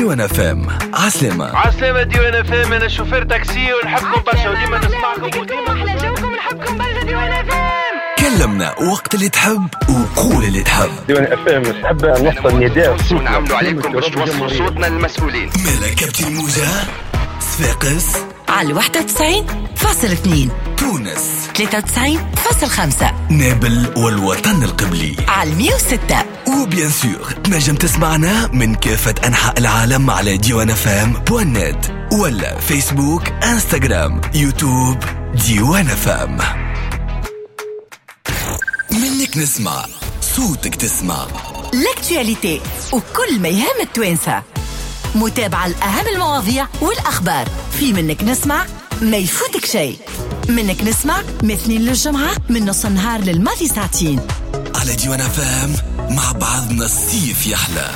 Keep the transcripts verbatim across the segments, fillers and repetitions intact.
ديوان اف ام. عسلامة عسلامة ديوان اف ام، انا شوفير تاكسي ونحبكم برشا وديما نسمعكم وديما احلى جوكم، نحبكم برشا ديوان اف ام. كلمنا وقت اللي تحب وقول اللي تحب. ديوان اف ام نحب نوصل نداء ونعملوا عليكم باش توصلوا صوتنا للمسؤولين. ملا كابتن الموجة صفاقس على واحد وتسعين فاصل اثنين، تونس ثلاثة وتسعين فاصل خمسة، نابل والوطن القبلي على مية وستة. و bien sûr تنجم تسمعنا من كافة أنحاء العالم على ديوان اف ام point net ولا فيسبوك، انستغرام، يوتيوب ديوان اف ام. منك نسمع صوتك تسمع l'actualité وكل ما يهم التوانسة، متابعة لأهم المواضيع والأخبار في منك نسمع، ما يفوتك شيء. منك نسمع من اثنين للجمعة من نص النهار للماضي ساعتين على ديوان اف ام. مع بعضنا الصيف يحلى.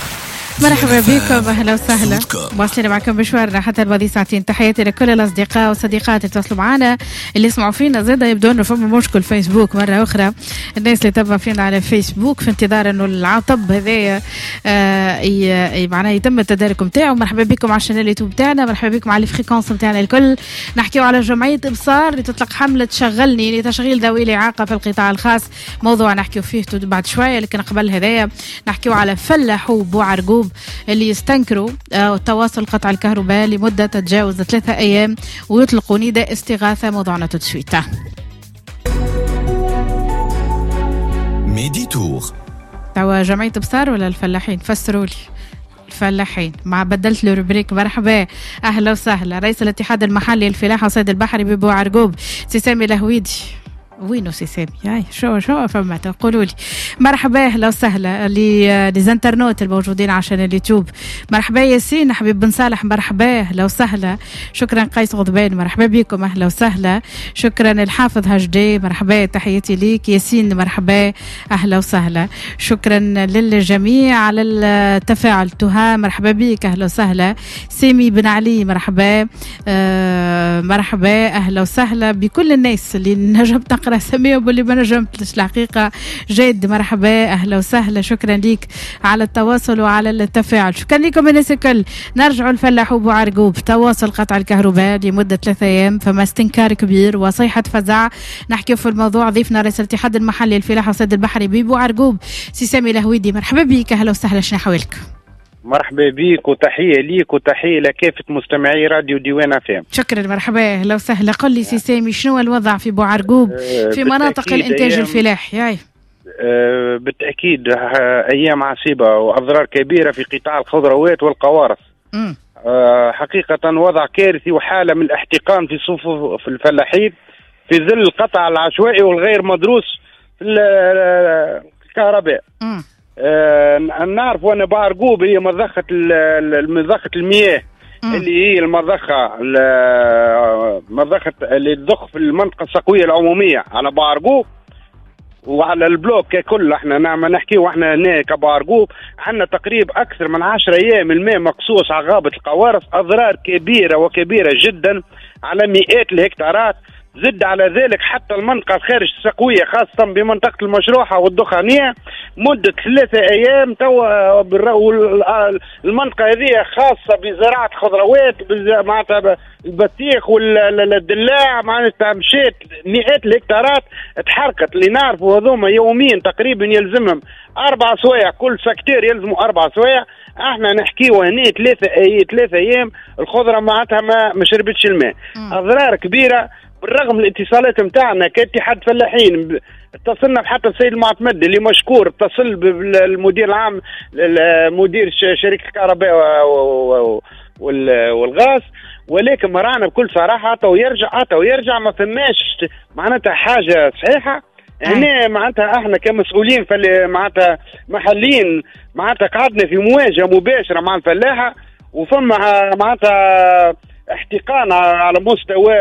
مرحبا بكم، اهلا وسهلا، واصلين معكم مشوارنا حتى الماضي ساعتين. تحياتي لكل الاصدقاء والصديقات اللي تواصلوا معنا، اللي يسمعوا فينا زاده. يبدو انه فما مشكل فيسبوك مرة اخرى، الناس اللي تبع فينا على فيسبوك في انتظار انه العطب هذايا آه معناه يتم التدارك نتاعو. مرحبا بكم على chaîne اليوتيوب تاعنا، مرحبا بكم على ال fréquences نتاعنا الكل. نحكيو على جمعية ابصار اللي تطلق حمله شغلني لتشغيل ذوي الاعاقة في القطاع الخاص، موضوع نحكيو فيه بعد شوية، لكن قبل هذايا نحكيو على فلاحو بوعرقوب اللي يستنكروا تواصل قطع الكهرباء لمدة تتجاوز ثلاثة أيام ويطلقوا نداء استغاثة. موضوعنا tout de suite. ميدي تور. توا جمعية بصار ولا الفلاحين؟ فسروا لي الفلاحين، مع بدلت له rubrique. مرحبا، أهلا وسهلا. رئيس الاتحاد المحلي للفلاحة وصيد البحري ببوعرقوب سي سامي الهويدي. وينو سي سامي؟ هاي شو شو فما تقولوا لي. مرحبا، اهلا وسهلا les internautes الموجودين عشان اليوتيوب. مرحبا ياسين حبيب بن صالح، مرحبا، اهلا وسهلا. شكرا قيس غضبان، مرحبا بكم، اهلا وسهلا. شكرا الحافظ هجدي، مرحبا، تحياتي ليك ياسين، مرحبا، اهلا وسهلا. شكرا للجميع على التفاعل. تها مرحبا بك، اهلا وسهلا. سامي بن علي مرحبا، آه مرحبا، اهلا وسهلا بكل الناس اللي نجمت نقرا سميهم واللي ما نجمتش الحقيقة. جاد مرحبا، اهلا وسهلا، شكرا ليك على التواصل وعلى التفاعل. شكرا لكم الناس الكل. نرجعوا الفلاح بوعرقوب، تواصل قطع الكهرباء لمدة ثلاثة ايام، فما استنكار كبير وصيحه فزع. نحكي في الموضوع ضيفنا رئيس الاتحاد المحلي للفلاحه والصيد البحري ببوعرقوب سي سامي الهويدي. مرحبا بك، اهلا وسهلا، شنو احوالك؟ مرحبا بيك وتحية ليك وتحية لكافة مستمعي راديو ديوان اف ام. شكرا، مرحبا، اهلا وسهلا. قل لي سي سامي، شنو الوضع في بوعرقوب في مناطق الانتاج الفلاحي؟ ياي أه بالتأكيد أيام عصيبة وأضرار كبيرة في قطاع الخضروات والقوارص. أه حقيقة وضع كارثي وحالة من الاحتقان في صفوف في الفلاحين في ظل القطع العشوائي والغير مدروس في الكهرباء. آه نعرف أن بوعرقوب هي مضخة مضخة المياه مم. اللي هي المضخة مضخة اللي تضخ في المنطقة السقوية العمومية على بوعرقوب وعلى ال bloc ككل. احنا نعم نحكي واحنا هنا كبوعرقوب عندنا تقريبا أكثر من عشرة أيام الماء مقصوص على غابة القوارص، أضرار كبيرة وكبيرة جدا على مئات الهكتارات. زد على ذلك حتى المنطقة الخارج السقوية خاصة بمنطقة المشروحة والدخانية مدة ثلاثة أيام توا. المنطقة هذه خاصة بزراعة خضروات، معناتها البطيخ والدلاع، معناتها مشات مئات الهكتارات تحركت. اللي نعرفوا هذوما يوميا تقريبا يلزمهم أربع سوايع، كل secteur يلزموا أربع سوايع. احنا نحكيو هنا ثلاثة أي ثلاثة أيام الخضرة معناتها ما شربتش الماء. أضرار كبيرة بالرغم من الاتصالات نتاعنا كاتحاد فلاحين. اتصلنا بحتى السيد المعتمد اللي مشكور، اتصل بالمدير العام مدير شركة الكهرباء والغاز، ولكن مرانا بكل صراحة تو يرجع تو يرجع ما فماش معناتها حاجة صحيحه. هنا معناتها احنا كمسؤولين معناتها محليين معناتها قعدنا في مواجهة مباشرة مع الفلاحة، وفما معناتها احتقان على مستوى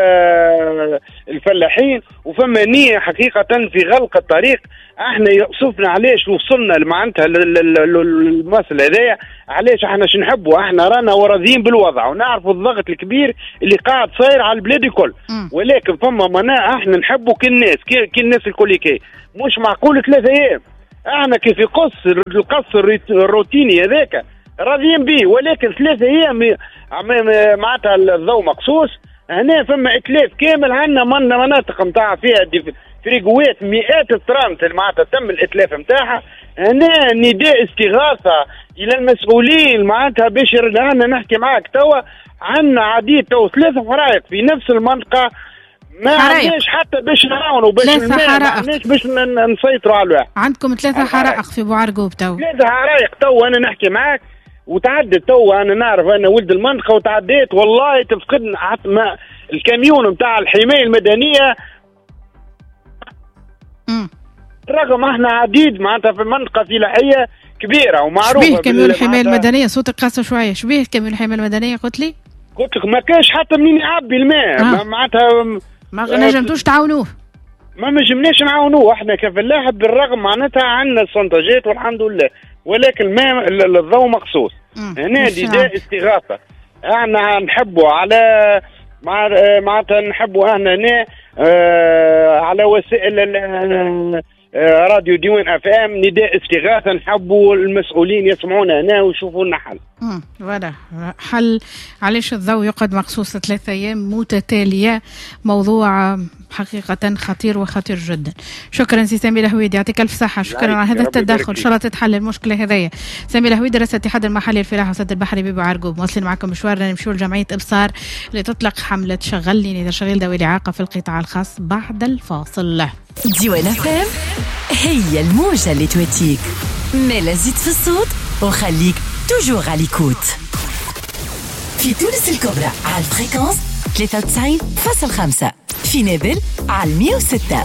الفلاحين، وفما نية حقيقة في غلق الطريق. احنا يقصفنا علاش وصلنا معناتها للمسألة هذايا، علاش احنا شو نحبوا؟ احنا رانا وراضيين بالوضع ونعرفوا الضغط الكبير اللي قاعد صاير على البلاد الكل، ولكن فما منا احنا نحبوا كل الناس كل الناس الكل كي مش معقول ثلاثة ايام. احنا كيف يقص القص الروتيني هذاك راضيين به، ولكن ثلاثة ايام معناتها الضوء مقصوص. هنا فما اتلاف كامل، عندنا مناطق نتاع فيها فريقوات مئات الترانت معناتها تم الاتلاف نتاعها. هنا نداء استغاثة الى المسؤولين معناتها باش عندنا نحكي معاك توا، عندنا عديد تو ثلاثة حرائق في نفس المنطقة، ما عندناش حتى باش نعاونوا باش ما عندناش باش نسيطروا على الواحد. عندكم ثلاثة حرائق في بوعرقوب تو؟ ثلاثة حرائق تو انا نحكي معاك وتعدت تو، انا نعرف انا ولد المنطقة وتعديت والله تفقدنا ما الكاميون نتاع الحماية المدنية. امم رغم احنا عديد معناتها في منطقة فلاحية كبيرة ومعروفة. شبيه كاميون الحماية المدنية؟ صوتك قاسي شوية، شبيه كاميون الحماية المدنية قلت لي؟ قلت لك ما كاش حتى منين يعبي الماء. آه. معناتها ما نجمتوش تعاونوه؟ ما نجمناش نعاونوه احنا كفلاح، بالرغم معناتها عندنا السونتاجات والحمد لله، ولكن ما الضوء مقصوص. هنا نداء استغاثة، احنا نحبوا على مع معناتها نحبوا احنا هنا اه على وسائل راديو ديوان اف ام نداء استغاثة، نحبوا المسؤولين يسمعونا هنا ويشوفوا لنا حل. امم voilà حل. علاش الضوء يقعد مقصوص ثلاثة ايام متتالية؟ موضوع حقيقة خطير وخطير جدا. شكرا سي سامي الهويدي، يعطيك الف صحة، شكرا على هذا التدخل، ان شاء الله تتحل المشكلة هذيا. سامي الهويدي رئيس الاتحاد المحلي للفلاحه والصيد البحري ببوعرقوب. مواصلين معكم مشوارنا، نمشيو لجمعية ابصار اللي تطلق حمله شغلني لتشغيل ذوي الاعاقة في القطاع الخاص بعد الفاصل. ديوان اف ام هي الموجة اللي تواتيك، مالا زيد في الصوت وخليك toujours à l'écoute. في تونس الكبرى على ال fréquence ثلاثة وتسعين فاصل خمسة، في نابل على مية وستة،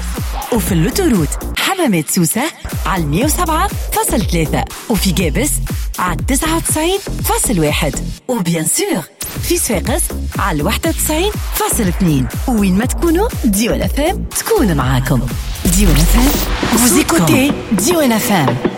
وفي l'autoroute حمامات سوسة على مية وسبعة فاصل ثلاثة، وفي جابس على تسعة وتسعين فاصل واحد، و bien sûr في صفاقس على واحد وتسعين فاصل اثنين. وين ما تكونوا ديوان اف ام تكون معاكم. ديوان اف ام، vous écoutez ديوان اف ام.